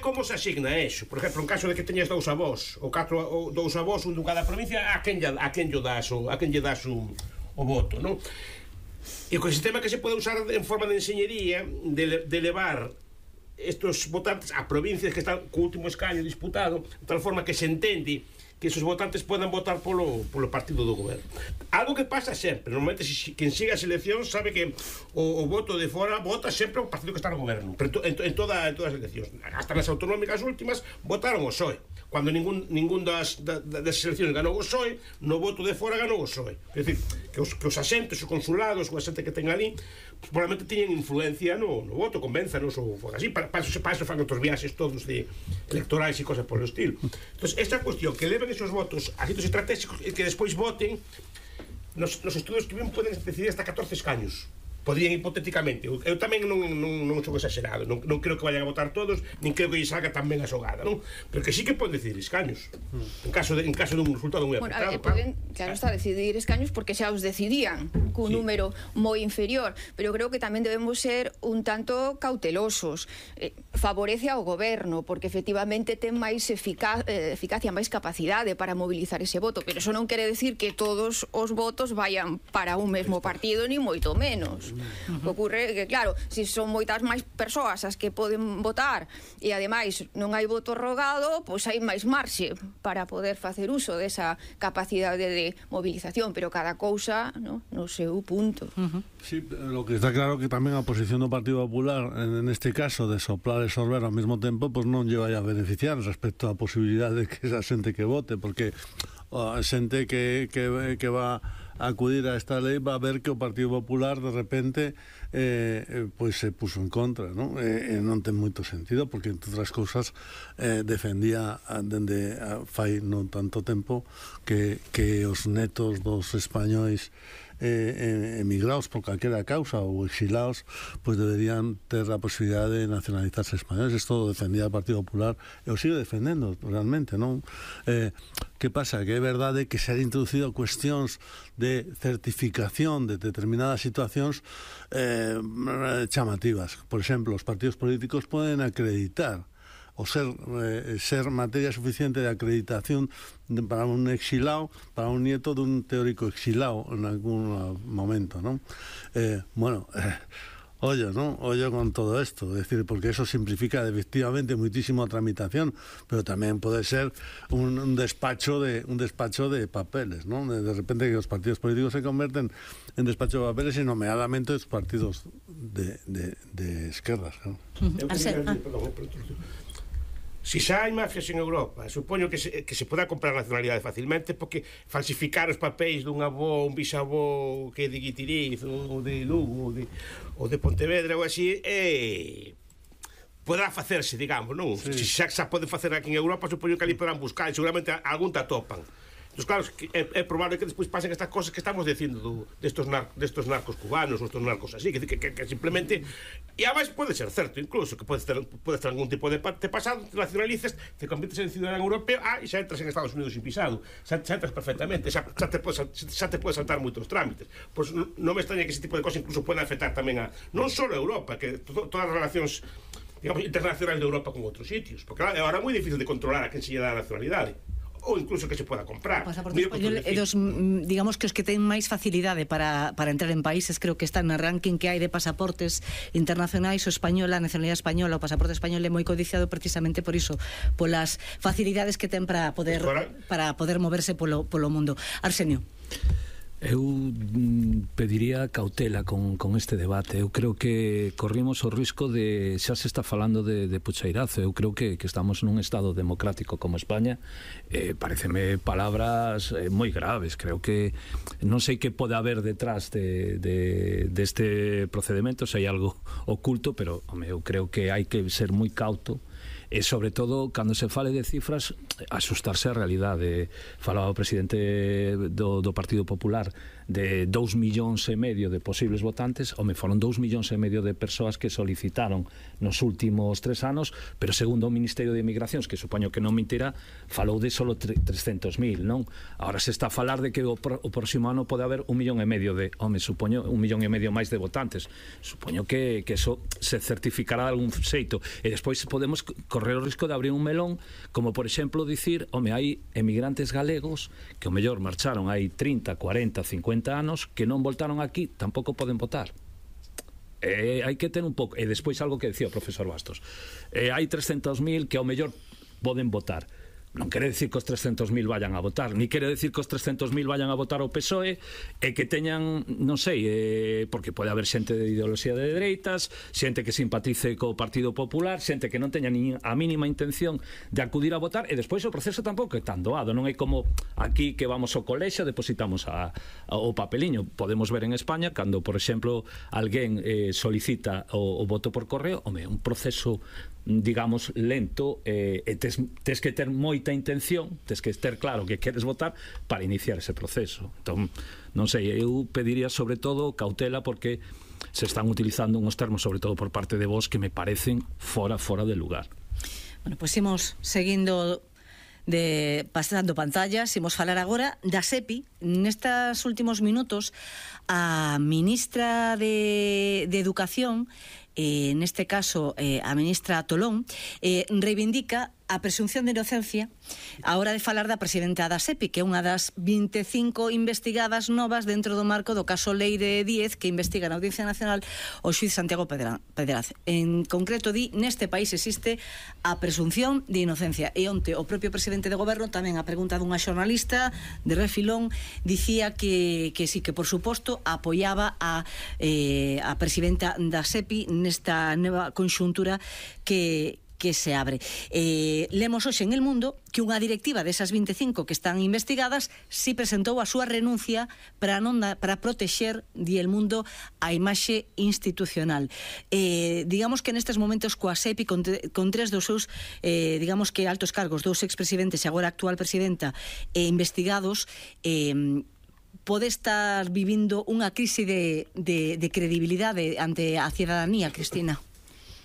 como se asigna eso. Por exemplo, en caso de que teñas dous avós ou dous avós, un de cada provincia, a quen lle das o voto, non? E co sistema que se pode usar en forma de enseñería de levar estos votantes a provincias que están co último escaño disputado, de tal forma que se entende que esos votantes podan votar polo partido do goberno. Algo que pasa sempre, normalmente quen siga as eleccións sabe que o voto de fora vota sempre o partido que está no goberno, pero en todas as eleccións, hasta nas autonómicas últimas votaron o PSOE. Cuando ningún das eleccións ganou o PSOE, no voto de fora ganou o PSOE. É dicir, que os asentes, os consulados, o asente que ten ali, probablemente tiñen influencia no voto, convénzanos ou así, para eso fan outros viaxes todos de electorais e cosas por o estilo. Entón, esta cuestión que leven esos votos a sitios estratégicos e que despois voten, nos estudos que ven poden decidir hasta 14 escaños. Podrían hipotéticamente. Eu tamén non son exagerado, non creo que vayan a votar todos, nin creo que lle salga tan ben a xogada, non? Pero que sí que poden decidir escaños en caso dun resultado moi apretado. Poden, claro está, decidir escaños porque xa os decidían cun número moi inferior, pero creo que tamén debemos ser un tanto cautelosos. Favorece ao goberno porque efectivamente ten máis eficacia, máis capacidade para mobilizar ese voto, pero eso non quere decir que todos os votos vayan para un mesmo partido, ni moito menos. Ocurre que, claro, se son moitas máis persoas as que poden votar e ademais non hai voto rogado, pois hai máis marxe para poder facer uso desa capacidade de movilización, pero cada cousa no seu punto. Sí, lo que está claro que tamén a posición do Partido Popular en este caso de soplar e sorber ao mesmo tempo, pois non lle vai a beneficiar respecto á posibilidade de que esa xente que vote, porque a xente que va a acudir a esta lei va a ver que o Partido Popular de repente pois se puso en contra, non? Non ten moito sentido porque entre outras cousas defendía dende fai non tanto tempo que os netos dos españois emigrados por calquera causa ou exilados, pois deberían ter a posibilidade de nacionalizarse españoles. Isto lo defendía o Partido Popular e o sigue defendendo realmente, non? Que pasa? Que é verdade que se han introducido cuestións de certificación de determinadas situacións chamativas. Por exemplo, os partidos políticos poden acreditar o ser materia suficiente de acreditación para un exilado, para un nieto dun teórico exilado en algún momento, non? Ollo, ¿no? Ollo con todo esto, es decir, porque eso simplifica efectivamente muchísimo a tramitación, pero también puede ser un despacho de papeles, ¿no? De repente que los partidos políticos se convierten en despacho de papeles y nomeadamente los partidos de izquierdas, ¿no? Si xa hai mafias en Europa, supoño que se poda comprar nacionalidade facilmente, porque falsificar os papéis dun avó, un bisavó que é de Guitiriz ou de Lugo ou de Pontevedra ou así, poderá facerse, digamos, non? Se xa pode facer aquí en Europa, supoño que ali poderán buscar e seguramente algún te atopan. Entón, claro, é probable que despois pasen estas cosas que estamos dicindo destos narcos cubanos ou estos narcos así, que simplemente, e ademais pode ser certo incluso, que podes ter algún tipo de pasado, te nacionalices, te conviertes en ciudadano europeo, e xa entras en Estados Unidos sin pisado, xa entras perfectamente, xa te podes saltar moitos trámites. Pois non me extraña que ese tipo de cosas incluso poden afectar tamén a non só a Europa, que todas as relacións, digamos, internacionais de Europa con outros sitios, porque agora é moi difícil de controlar a quen se lle dá a nacionalidade, ou incluso que se poda comprar. O pasaporte español é dos, digamos, que os que ten máis facilidade para entrar en países, creo que está no ranking que hai de pasaportes internacionais, o español, a nacionalidade española, o pasaporte español é moi codiciado precisamente por iso, polas facilidades que ten para poder moverse polo mundo. Arsenio. Eu pediría cautela con este debate. Eu creo que corrimos o risco de, xa se está falando de pucheirazo. Eu creo que estamos nun estado democrático como España. Pareceme palabras moi graves. Creo que non sei que pode haber detrás deste procedimento, se hai algo oculto, pero eu creo que hai que ser moi cauto e sobre todo cando se fale de cifras asustarse a realidade. Falaba o presidente do Partido Popular de 2,5 millóns de posibles votantes, foron 2,5 millóns de persoas que solicitaron nos últimos 3 anos, pero segundo o Ministerio de Inmigracións, que supoño que non mentirá, falou de solo 300.000, non? Agora se está a falar de que o próximo ano pode haber 1,5 millón supoño 1,5 millón máis de votantes. Supoño que eso se certificará de algún xeito, e despois podemos correr o risco de abrir un melón, como por exemplo dicir, hai emigrantes galegos que o mellor marcharon hai 30, 40, 50 anos que non voltaron aquí, tampouco poden votar. Hai que ter un pouco, e despois algo que decía o profesor Bastos, hai 300.000 que ao mellor poden votar. Non quere decir que os 300.000 vayan a votar, ni quere decir que os 300.000 vayan a votar ao PSOE e que teñan, non sei, porque pode haber xente de ideoloxía de dereitas, xente que simpatice co Partido Popular, xente que non teña ni a mínima intención de acudir a votar, e despois o proceso tampouco é tan doado, non é como aquí que vamos ao colexio, depositamos o papeliño. Podemos ver en España, cando, por exemplo, alguén solicita o voto por correo, un proceso digamos lento, e tes que ter moita intención, tes que ter claro que queres votar para iniciar ese proceso. Entón, non sei, eu pediría sobre todo cautela, porque se están utilizando uns termos, sobre todo por parte de vos, que me parecen fora de lugar. Bueno, pois imos seguindo pasando pantallas, imos falar agora da SEPI. Nestes últimos minutos, a ministra de Educación, neste caso a ministra Tolón, reivindica a presunción de inocencia a hora de falar da presidenta da SEPI, que é unha das 25 investigadas novas dentro do marco do caso Leire 10, que investiga na Audiencia Nacional o xuiz Santiago Pedraz. En concreto, neste país existe a presunción de inocencia, e onte o propio presidente de goberno, tamén a pregunta dunha xornalista de refilón, dicía que sí, que por suposto apoiaba a presidenta da SEPI nesta nova conxuntura que se abre. Lemos hoxe en El Mundo que unha directiva desas 25 que están investigadas si presentou a súa renuncia para protexer, di El Mundo, a imaxe institucional. Digamos que nestes momentos coa SEPI, con tres dos seus digamos que altos cargos, dous expresidentes e agora actual presidenta, investigados, pode estar vivindo unha crise de credibilidade ante a cidadanía, Cristina.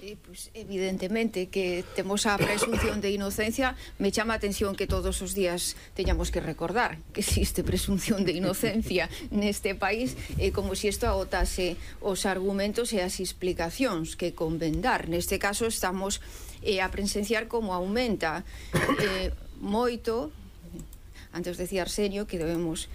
Pues evidentemente que temos a presunción de inocencia. Me chama a atención que todos os días teñamos que recordar que existe presunción de inocencia neste país, como se isto agotase os argumentos e as explicacións que convén dar. Neste caso estamos a presenciar como aumenta moito. Antes decía Arsenio que debemos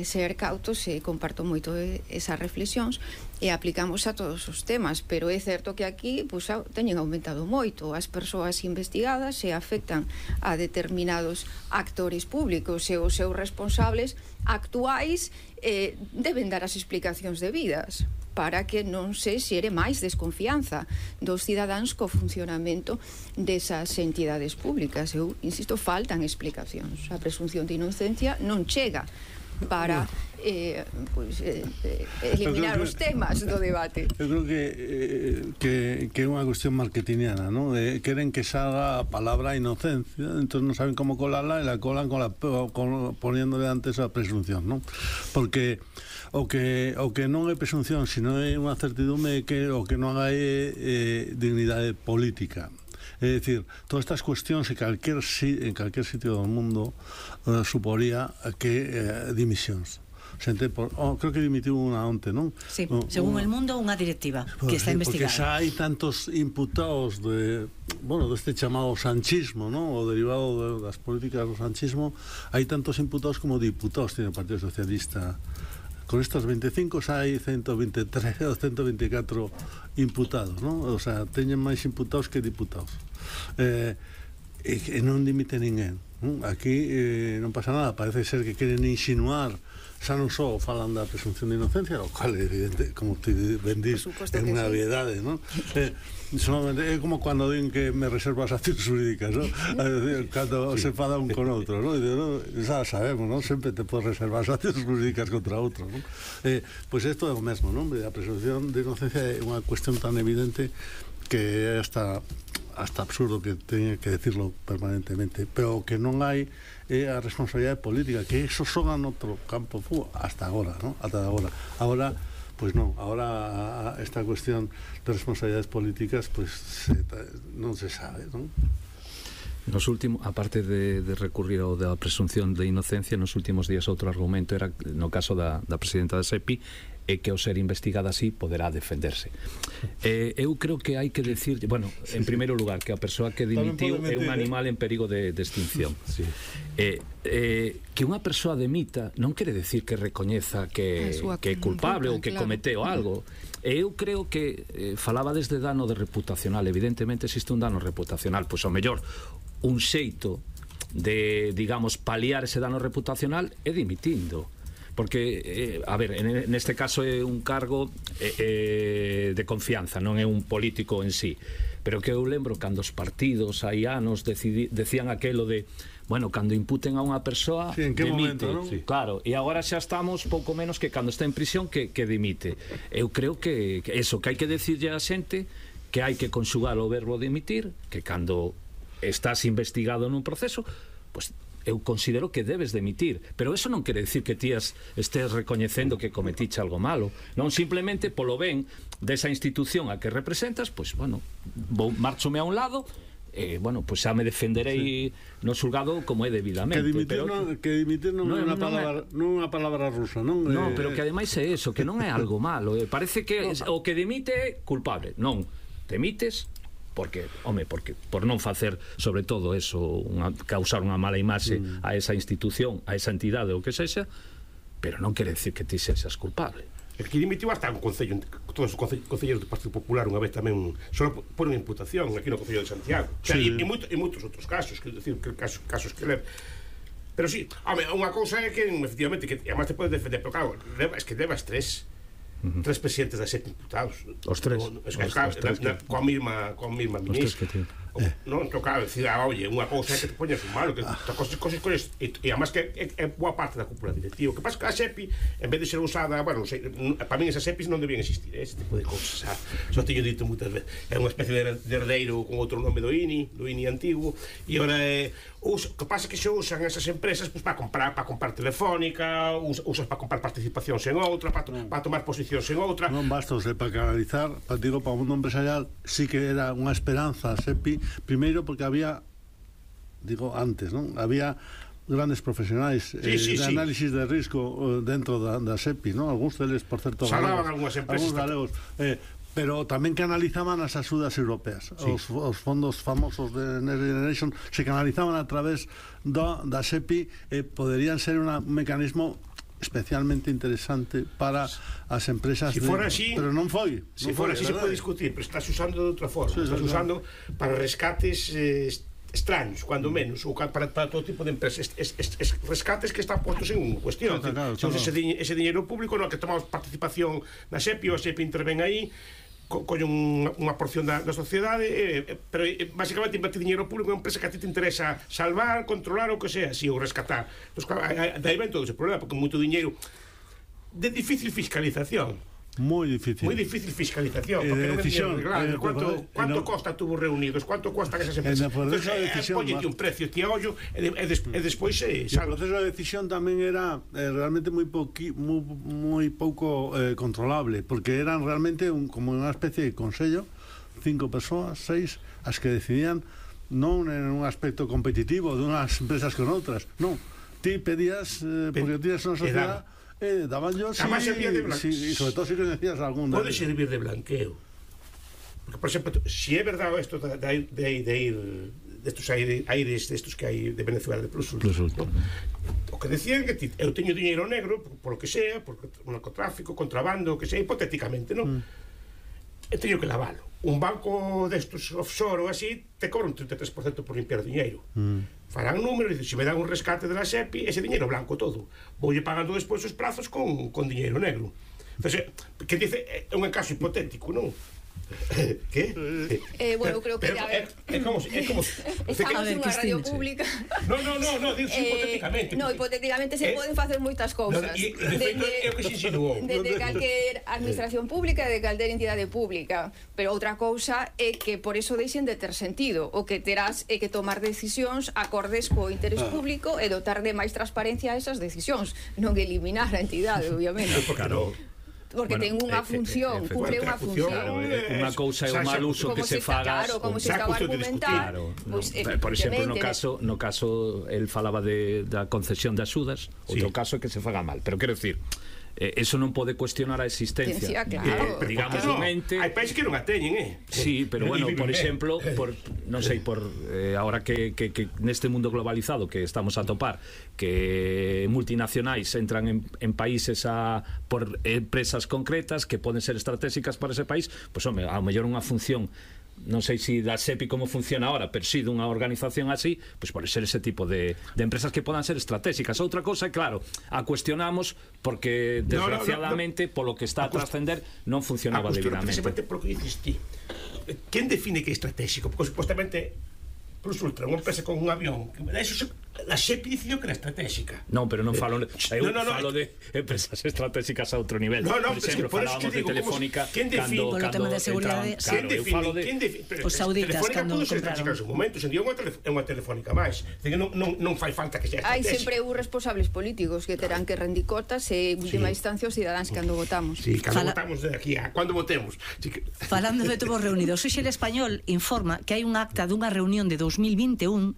ser cautos, e comparto moito esas reflexións, e aplicamos a todos os temas, pero é certo que aquí teñen aumentado moito as persoas investigadas e afectan a determinados actores públicos, e os seus responsables actuais deben dar as explicacións debidas para que non se xere máis desconfianza dos cidadáns co funcionamento desas entidades públicas. Eu insisto, faltan explicacións. A presunción de inocencia non chega para eliminar os temas do debate. Eu creo que é unha cuestión marketingiana, ¿no? Queren que salga a palabra inocencia, entonces non saben como colarla, e la colan poniéndole antes a presunción, ¿no? Porque o que non é presunción, sino é unha certidumbre que o que non hai dignidade política. É dicir, todas estas cuestións en calquer sitio do mundo suporía que dimisións. Creo que dimitiu unha onte, non? Sí, según El Mundo, unha directiva que está investigada. Porque xa hai tantos imputados deste chamado sanchismo, non? O derivado das políticas do sanchismo, hai tantos imputados como diputados tiene o Partido Socialista. Con estos 25 xa hai 123 ou 124 imputados, non? O sea, teñen máis imputados que diputados. E non dimite ninguén. Aquí non pasa nada, parece ser que queren insinuar, xa non só falan da presunción de inocencia, o cual é evidente, como te vendís, é unha obviedade, non? É como cando din que me reservo as accións jurídicas, non? Cando se fada un con outro, non? Xa sabemos, non? Sempre te podes reservar as accións jurídicas contra outro, non? Pois isto é o mesmo, non? A presunción de inocencia é unha cuestión tan evidente que hasta hasta absurdo que teña que decirlo permanentemente, pero que non hai a responsabilidade política, que eso son en outro campo hasta agora, ¿no? Hasta agora. Ahora, pues non, ahora esta cuestión de responsabilidades políticas pues non se sabe, ¿no? Nos últimos, aparte de recurrir ao da presunción de inocencia, nos últimos días outro argumento era, no caso da presidenta da SEPI, é que ao ser investigada así poderá defenderse. Eu creo que hai que decir, bueno, en primeiro lugar, que a persoa que dimitiu é un animal en perigo de extinción. Que unha persoa demita non quere decir que recoñeza que é culpable ou que cometeu algo. Eu creo que falaba desde dano de reputacional. Evidentemente existe un dano reputacional, pois ao mellor un xeito de, digamos, paliar ese dano reputacional é dimitindo. Porque, a ver, neste caso é un cargo de confianza, non é un político en sí. Pero que eu lembro cando os partidos hai anos decían aquelo de, bueno, cando imputen a unha persoa, sí, en que dimite, momento, ¿no? Sí. Claro, e agora xa estamos pouco menos que cando está en prisión que dimite. Eu creo que eso, que hai que decirlle a xente que hai que conxugar o verbo dimitir, que cando estás investigado nun proceso, pues eu considero que debes demitir, pero eso non quere decir que ti estés recoñecendo que cometiche algo malo, non, simplemente polo ben desa institución a que representas, pois, bueno, marchome a un lado, bueno, pois xa me defenderei no xulgado como é debidamente. Que dimitir non é unha palabra rusa, non? Non, pero que ademais é eso, que non é algo malo, parece que o que dimite é culpable. Non, demites porque por non facer, sobre todo eso, causar unha mala imaxe a esa institución, a esa entidade ou que sexa, pero non quere decir que ti sexas culpable. É que dimitiu hasta un concello, todos os concelleiros do Partido Popular unha vez tamén só por unha imputación aquí no Concello de Santiago. O sea, e moitos outros casos, quero dicir, casos que levan. Pero sí, unha cousa é que efectivamente, que además te podes defender, pero claro, es que levas tres presidentes da SEPI imputados. Os tres. Coa mesma ministra. Non, claro, decir, oye, unha cousa é que te poñas un malo, que cosas e además que é boa parte da cúpula directiva. O que pasa que a SEPI, en vez de ser usada, bueno, para min esas SEPIs non debían existir, ese tipo de cousas, xa teño dito moitas veces. É unha especie de herdeiro con outro nome do INI antigo, e agora o que pasa é que se usan esas empresas para comprar Telefónica, usas para comprar participacións en outra, para tomar posicións en outra. Non basta, para canalizar, digo, para o mundo empresarial sí que era unha esperanza a SEPI, primeiro porque había, digo, antes, non? Había grandes profesionais de análisis de risco dentro da SEPI, non? Algúns deles, por certo, salaban algúnas empresas galegos, pero tamén canalizaban as axudas europeas. Os fondos famosos de Next Generation se canalizaban a través da SEPI, poderían ser un mecanismo especialmente interesante para as empresas, pero non foi. Se fora así se pode discutir, pero estás usando de outra forma, estás usando para rescates extraños, cuando menos, ou para todo tipo de empresas, rescates que están postos en cuestión. Ese dinheiro público no que tomamos participación na SEPI, o a SEPI interven aí, colle unha porción da sociedade, pero basicamente invertir dinheiro público en unha empresa que a ti te interesa salvar, controlar ou que sea, ou rescatar. Daí ven todo ese problema, porque moito dinheiro de difícil fiscalización. Moi difícil fiscalización, porque non decisión, cuánto costa tubos reunidos, cuánto costan esas empresas. Póñete un precio, ti a ollo, e despois o proceso de decisión tamén era realmente moi pouco controlable, porque eran realmente como unha especie de consello, 5 persoas, 6, as que decidían non en un aspecto competitivo de unhas empresas con outras, non, ti pedías, porque tías unha sociedade, daban yo, y sobre todo si conocías algún. Puede servir de blanqueo, porque por exemplo, si é verdade isto de ir de estos aires destos que hai de Venezuela de plus ultra, o que decían que eu teño dinheiro negro por lo que sea, por narcotráfico, contrabando, o que sea, hipotéticamente, non? E teño que lavalo. Un banco destos offshore ou así te cobra un 33% por limpiar o dinheiro. Farán números, e se me dan un rescate de la SEPI, ese dinheiro blanco todo, voulle pagando despois os prazos con dinheiro negro. Entonces, que dice, é un caso hipotético, non? Que? Bueno, creo que é como estamos nunha radio pública. No, digo hipotéticamente. No, hipotéticamente se poden facer moitas cousas. Desde calquer administración pública e de calquer entidade pública, pero outra cousa é que por eso deixen de ter sentido, o que terás é que tomar decisións acordes co interés público e dotar de máis transparencia a esas decisións, non eliminar a entidade, obviamente. Claro. Porque ten unha función, cumpre unha función. Unha cousa é o mal uso que se faga. Claro, como se estaba argumentando. Por exemplo, no caso el falaba da concesión de axudas, outro caso é que se faga mal. Pero quero decir, eso non pode cuestionar a existencia digamos un ente. Hai países que non a teñen, Sí, pero bueno, por exemplo, non sei, ahora que neste mundo globalizado que estamos a topar, que multinacionais entran en países por empresas concretas que poden ser estratégicas para ese país, pois home, ao mellor unha función, non sei se da SEPI como funciona ahora, pero si dunha organización así, pois pode ser ese tipo de empresas que podan ser estratégicas. Outra cousa é, claro, a cuestionamos porque desgraciadamente polo que está a trascender non funcionaba debidamente. Precisamente por que dices ti, quen define que é estratégico? Porque supostamente Plus Ultra, unha empresa con un avión, eso a SEPI decidiu que era estratégica. Non, pero non falo falo de empresas estratégicas a outro nivel. Por exemplo, falábamos de Telefónica polo tema de seguridade. Os sauditas cando compraron en momento, sen digo é unha Telefónica máis. Non fai falta que sea estratégica. Hai sempre uns responsables políticos que terán que rendir contas e en última instancia os cidadáns cando votamos. Sí, cando votamos de aquí a cando votemos. Falando de tubos reunidos, hoxe el Español informa que hai un acta dunha reunión de 2021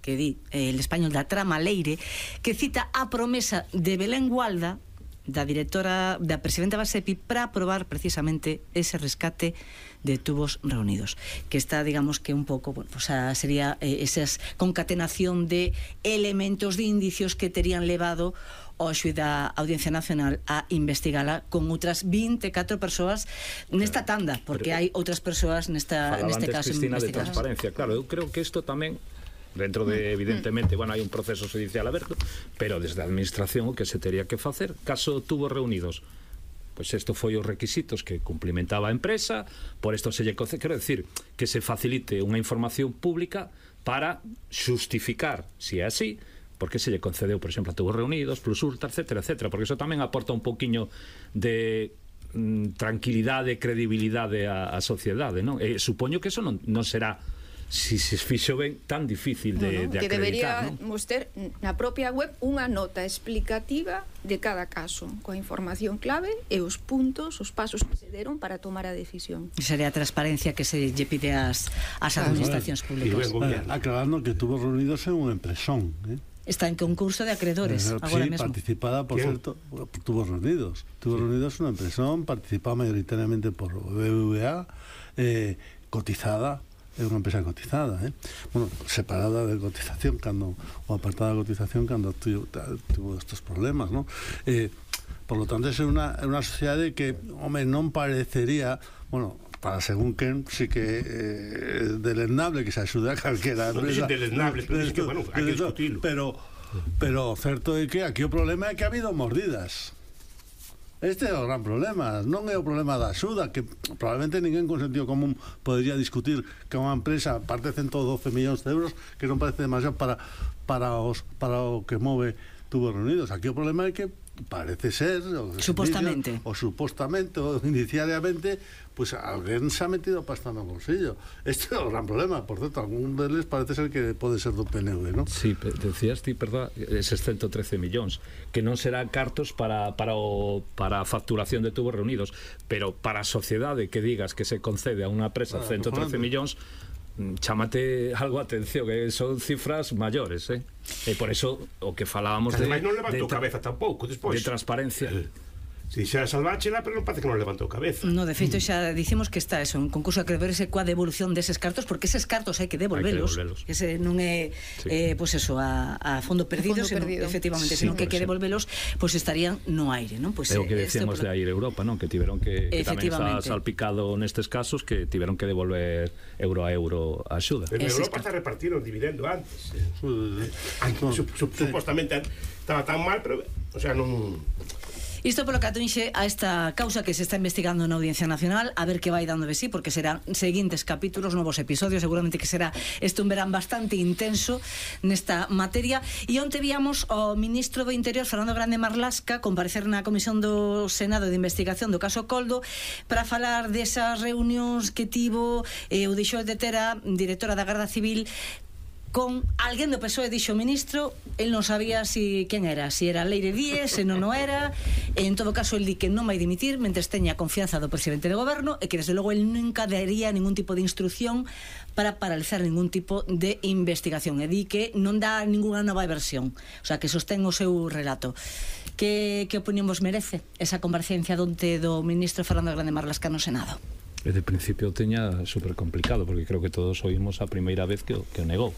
que di el Español da Trama Leire, que cita a promesa de Belén Gualda, da directora, da presidenta da SEPI, para aprobar precisamente ese rescate de tubos reunidos, que está, digamos, que un pouco, bueno, pues sería esa concatenación de elementos, de indicios que terían levado ao xuíz da Audiencia Nacional a investigala con outras 24 persoas nesta tanda, porque hai outras persoas neste caso Cristina, de transparencia. Claro, eu creo que isto tamén dentro de, evidentemente, bueno, hai un proceso judicial aberto, pero desde a administración o que se tería que facer, caso tubos reunidos, pois isto foi os requisitos que cumplimentaba a empresa, por isto se lle quero decir, que se facilite unha información pública para xustificar, se é así, porque se lle concedeu, por exemplo, a tubos reunidos, Plus Ultra, etcétera, porque eso tamén aporta un pouquiño de tranquilidade e credibilidade á sociedade, non? Supoño que eso non será, si se fixo ben, tan difícil de que acreditar, deberíamos ter na propia web unha nota explicativa de cada caso, coa información clave e os puntos, os pasos que se deron para tomar a decisión. Sería a transparencia que se lle pide ás administracións públicas. Aclarando que Tubos Reunidos é unha empresón, Está en concurso de acreedores agora mesmo. Participada, por cierto, por Tubos Reunidos. Tubos Reunidos é unha empresón participada mayoritariamente por BBVA, cotizada, é unha empresa cotizada, bueno, separada de cotización ou apartada de cotización cando tuvo estes problemas, ¿no? Por lo tanto, é unha sociedade que, home, non parecería, bueno, para según quen, sí que é deleznable que se axude a calquera empresa. Non é deleznable, pero é que, bueno, hai que discutirlo. Pero certo é que aquí o problema é que ha habido mordidas. Este é o gran problema, non é o problema da axuda, que probablemente ninguén con sentido común podería discutir que unha empresa parte 112 millóns de euros, que non parece demasiado para o que move Tubos Reunidos. Aquí o problema é que parece ser supostamente ou iniciariamente pues alguén se ha metido pasta no bolsillo. Este é o gran problema. Por certo, algún deles parece ser que pode ser do PNV, ¿no? Sí, decías ti, perdón, eses 113 millóns que non serán cartos para a facturación de Tubos Reunidos, pero para a sociedade que digas que se concede a unha empresa 113 millóns, chámate algo a atención, que son cifras maiores, e por eso o que falábamos de non levantou cabeza tampouco despois de transparencia. Si xa salváchela, pero non parece que non levantou cabeza. No, de feito xa dicimos que está eso, un concurso de acreedores coa devolución deses cartos, porque eses cartos hai que devolvelos. Ese non é pois eso, a fondo perdido, efectivamente, senón que hai que devolvelos, pois estarían no aire, non? Pois é o que decíamos de Air Europa, non? Que tiveron que tamén está salpicado nestes casos, que tiveron que devolver euro a euro a axuda. En Europa está repartido o dividendo antes. Supostamente estaba tan mal, pero, o sea, non... Isto polo que atinxe a esta causa que se está investigando na Audiencia Nacional, a ver que vai dando de sí, porque serán seguintes capítulos, novos episodios, seguramente que será un verán bastante intenso nesta materia. E onte víamos ao ministro do Interior, Fernando Grande Marlaska, comparecer na Comisión do Senado de Investigación do caso Coldo para falar desas reunións que tivo o deixou de ter a directora da Garda Civil con alguén do PSOE, dixo o ministro, el non sabía quen era, si era Leire Díez, se non o era. En todo caso, el di que non vai dimitir mentres teña confianza do presidente de goberno e que desde logo el nunca daría ningún tipo de instrucción para paralizar ningún tipo de investigación, e di que non dá ninguna nova versión, o sea, que sostén o seu relato. Que opinión vos merece esa comparecencia donte do ministro Fernando Grande Marlaska no Senado? De principio teña super complicado, porque creo que todos oímos a primeira vez que o negou.